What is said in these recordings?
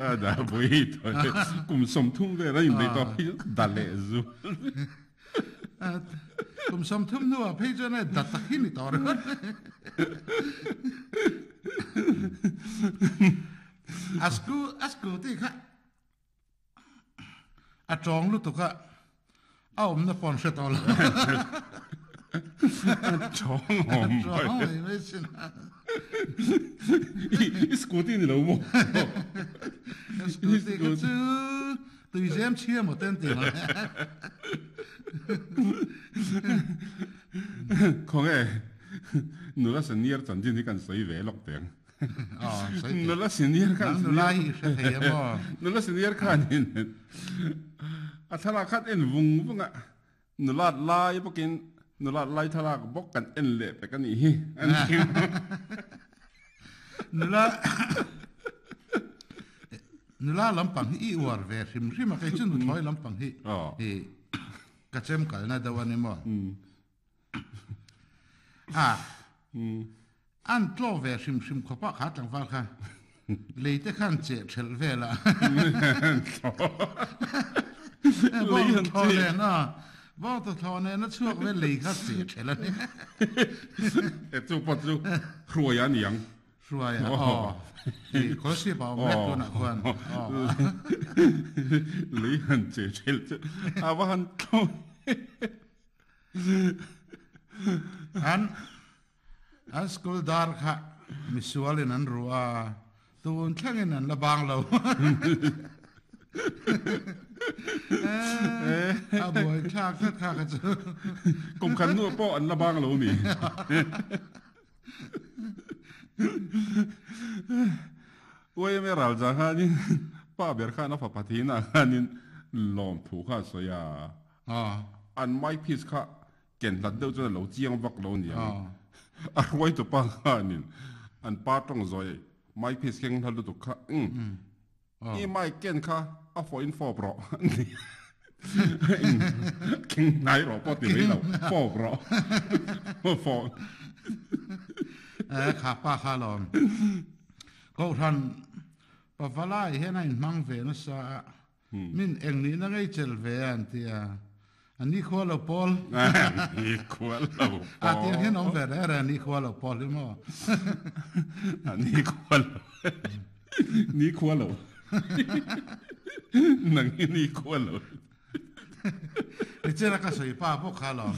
Da pui kum 30 vel a inneih tawh phei chuan da leh zu. Kum 30 hnuah phei chuan e da tak hi ni tawh ringawt. A school a scooty kha a tawng lutuk a a awmna pawh an hre tawh lo. A tawng awm mai. A tawng mai mai sin a. I scooty ni lo maw? Scooty kha chu tuizem chhia maw te an ti ang. Khawnge nula senior chanchin hi kan sawi ve lawk teh ang. Nula senior khan nula hi hre thei em aw nula senior khanin a thlalak khan en vung vung a nulat lai bawkin nulat lai thlalak bawk kan en leh pek a nih hi an ti nula nula lampang hi i uar ve hrim hrim a kei chu nuthlawi lampang hi hi ka chem kalna deuh a ni maw A an tlaw ve hrim hrim khawp a kha tlangval kha lei te khan cheh thelh vel a bawng thaw nen a bawng ta thaw nen a chhuak vel lei kha cheh thelh a ni e chu pawh chu hruai a niang hruai a aw i khawlsip a awm mek tunah khuan aw lei han cheh thelh chu a va han tlaw An an school dar kha misualin an ruh a, tun thlengin an la bang lo. A buai thlak tlat kha kha chu. Kum khat hnuah pawh an la bang lo ni. Uaime ralza khanin pa ber khan a fapa thinah khanin lawmthu kha a sawi a. An mic piece kha ken hlat deuh chuan a lo chiang vak lo aniang. A hruaitu pa khanin an pa tawng zawi mic piece keng hlat lutuk kha umm i mic ken kha a fawhin fawp rawh a ni. Keng hnai rawh pawh ti mai lo, fawp rawh. Fawp. Kha pa kha alawm. Kohhran Pavalai hian a inhmang ve nasa a. Min eng nihna ngei chel ve a an ti a, a nikhua lo pawl. Nikhua lo pawl. A tiang hian awm ve reng reng a nikhua lo pawl hi maw. A nikhua lo. Nikhua lo. Nang hi nikhua lo. Nichina ka sawi pa bawk kha alawm.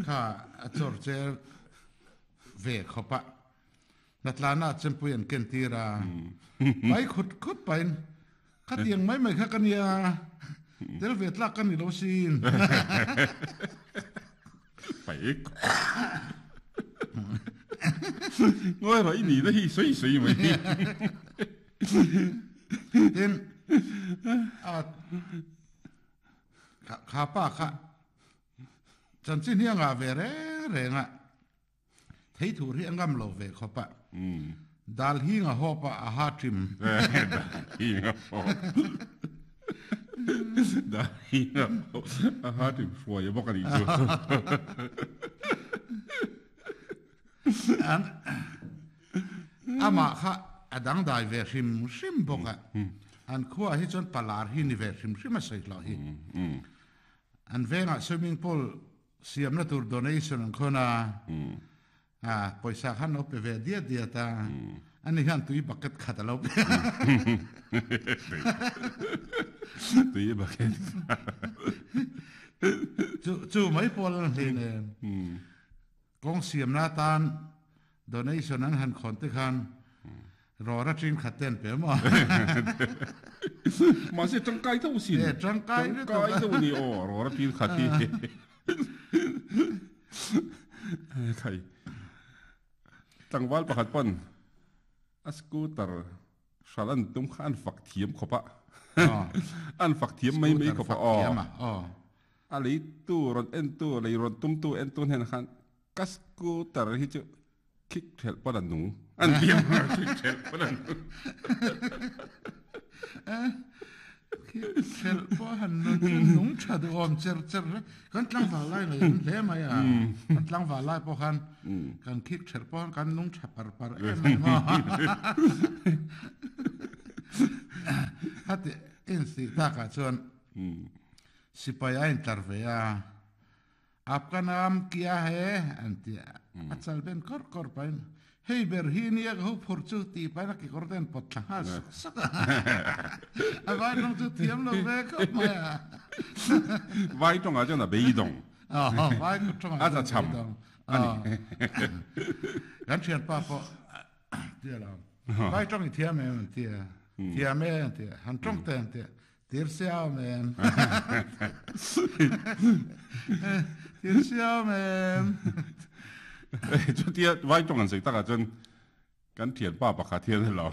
Kha a chawr che ve khawp a. Hnatlana chempui an ken tir a. Pai khut khut pain Khatiang mai mai kha ka nia, tel ve tlak ka ni lo sin. Paih. Ngawi rawh i nihna hi sawi sawi mai. Tin, a kha pa kha chanchin hi a ngah ve reng reng a. Thei thur hi a ngam lo ve khawp a. Dal hing a hawp a, a ha ṭim. Dal hing a hawp. Dal hing a hawp. A ha ṭim hruai a bawk a nih chu. An amah kha a dangdai ve hrim hrim bawk a. An khuaah hi chuan palar hi ni ve hrim hrim a sawi hlawh hi. An vengah swimming pool Siamna tur donation an khawn a, a pawisa khan lo pe ve diat diat a, ani hian tui bucket khat a lo pe a. Tui bucket khat. Chu chu mai pawl an hlei nen. Kawng siamna atan donation an han khawn te khan Rawra ṭin khat te an pe maw? Mahse ṭangkai deuh sin. E, ṭangkai lutuk. Ṭangkai deuh a ni aw, rawra ṭin khat hi. Khai. Tlangval pakhat pawn a scooter hral an tum kha an fak thiam khawp a. An fak thiam mai mai khawp a aw. A leitu rawn entu, lei rawn tumtu entu hnenah khan ka scooter hi chu Khik thelh pawn a nung. An biam a khik thelh pawn a nung. Khik thelh pawh han nun chu nung tha duh awm cher cher hle. Kan tlangval lai ngaih awm hle mai a. Kan tlangval lai pawh khan kan khik thelh pawh khan kan nung tha par par em em a. Khati in si takah chuan sipai a intlar ve a, Aapka naam kya hai an ti a, a chal ben kawr kawr pahin hei ber hi nia ka ho phur chu tih pahin a kekawr te an pawt thla nghal suk suk a, a vai tawng chu thiam lo ve khawp mai a. Vai tawngah chuan a beidawng. Vai tawngah chuan a beidawng. A ni. Kan thianpa pawh tia lo. Vai tawng i thiam em an tia. Thiam e an tia. Han tawng te an tia. Tir siam em. Tir siam em. Chutia vai tawng an sawi takah chuan kan thianpa pakhat hian elo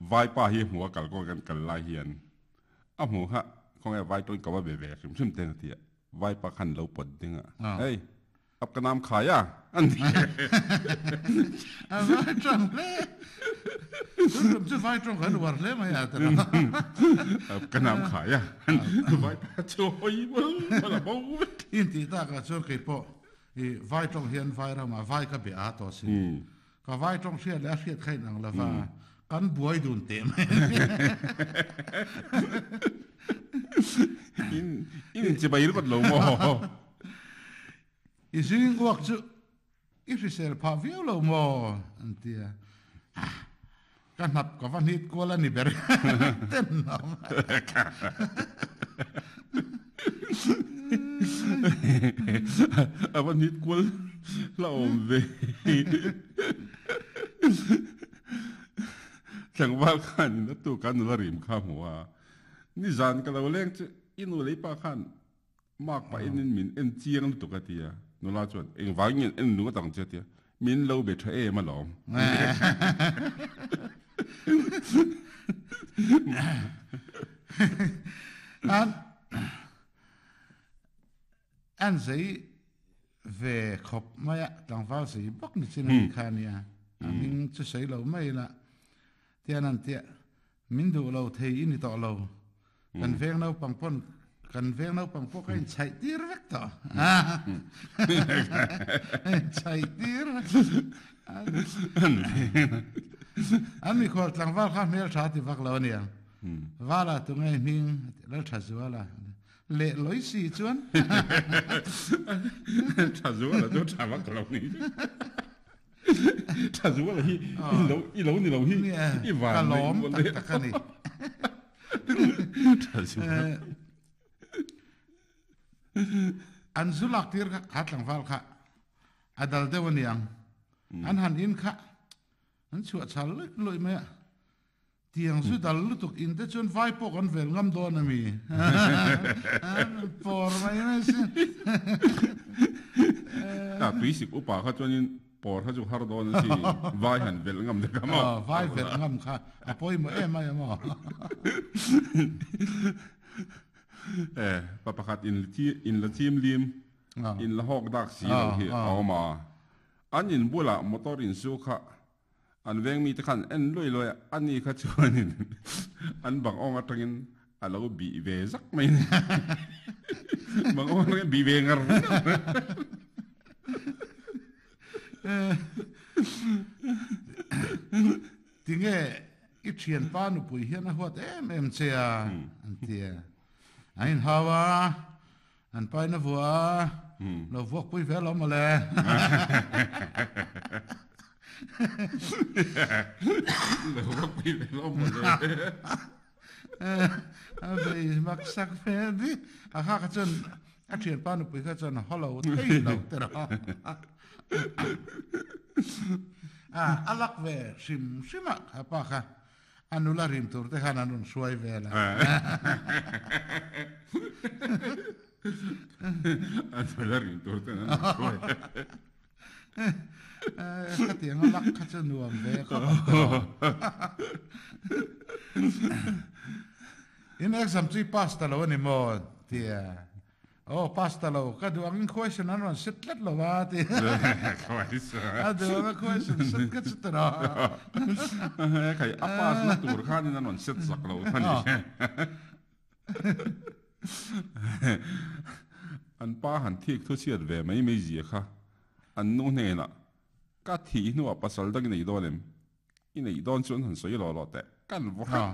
vaipa hi hmu a kal kawng kan kal lai hian a hmu kha khawnge vai tawng ka va be ve hrim hrim teng a tia. Vaipa khan lo pawt ding a. Hei. Ap ka nam khai a, an ti. A vai tawng hle. Tun tum chu vai tawng kan uar hle mai a ta lo. Ap ka nam khai a. Vai pa chu hawi bal bal a bo vek. In tih takah chuan kei pawh i vai tawng hian vai ramah vai ka be a tawh sin. Ka vai tawng hriat leh a hriat kha inang lova kan buai dun teh mai a ni. In in chibai ringawt lo maw? I zing uak chu i hrisel phah viau lo maw? An ti a. Ka hnap ka va hnit kual a ni ber ten awm. A va hnit kual la awm ve. Tlangval khan in a tu kan nula rim kha hmu a. Nizan ka lo leng chu i nu lei pa khan Mark pah in min en chiang lutuk a ti a, nula chuan engvang nge en lung atang che a ti a, min lo be tha em alawm. An an zei ve khawp mai a, tlangval zei bawk ni chin a ni kha ania, a hming chu sawi lo mai ila tian an tia Min duh lo thei i ni tawh lo. Kan veng naupang pawn kan veng naupang pawh ka inchhaih tir vek tawh. Inchhaih tir vek. An mikhual tlangval kha hmel tha ti vak lo aniang. Vala tu ngei hming lal tha zuala. Leh loi si chuan. Tha zuala chu tha vak lo ni. Tha zuala hi i lo ni lo hi i van ka lawm tak tak a ni. Tha zuala. An zu lak tir kha kha tlangval kha a dal deuh a niang. An han in kha an chhuah chhal luih luih mai a. Tiang zu dal lutuk in te chuan vai pawh kan vel ngam dawn a mi? Pawr mai mai si. Ta tuisik upa kha chuanin pawr kha chu har dawn a si. Vai han velh ngam te kha maw? Vai velh ngam kha a pawimawh em mai a maw? E, pa pakhat in in la chim lim, in la hawk dak si lo hi a awm a. An in bulah motor insu kha An veng mite khan en luai luai a, ani kha chuanin an bang awng atangin a lo bih ve zak mai a ni. Bang awng atangin bih ve ngar ngar. Tinge i thianpa nupui hian a huat em em che a, an ti a. An inhau a. An paina vua a, lo vuak pui ve lo mawle. Lo vuak pui ve lo mawle. A vei mak sak ve ni. A kha kha chuan a thianpa nupui kha chuan haw lo thei lo te rawh. A lak ve hrim hrim a kha pa kha. A nula rim tur te khan an rawn hruai vel a. A nula rim tur ten an rawn hruai. Khatiang a lak kha chu nuam ve khawp ang tawh. In exam chu i pass ta lo a ni maw? Tia. Aw pass ta lo, ka duh angin question an rawn set tlat lo a ti. A duh anga question set ka chu ta lo. Khai a pass na tur khanin an rawn set sak lo kha ni. An pa han thik thu chhiat ve mai mai zia kha an nu hnenah ka thih hnuah pasal dang i nei dawn em? I neih dawn chuan han sawi lawh lawh teh. Kan vaw hrep.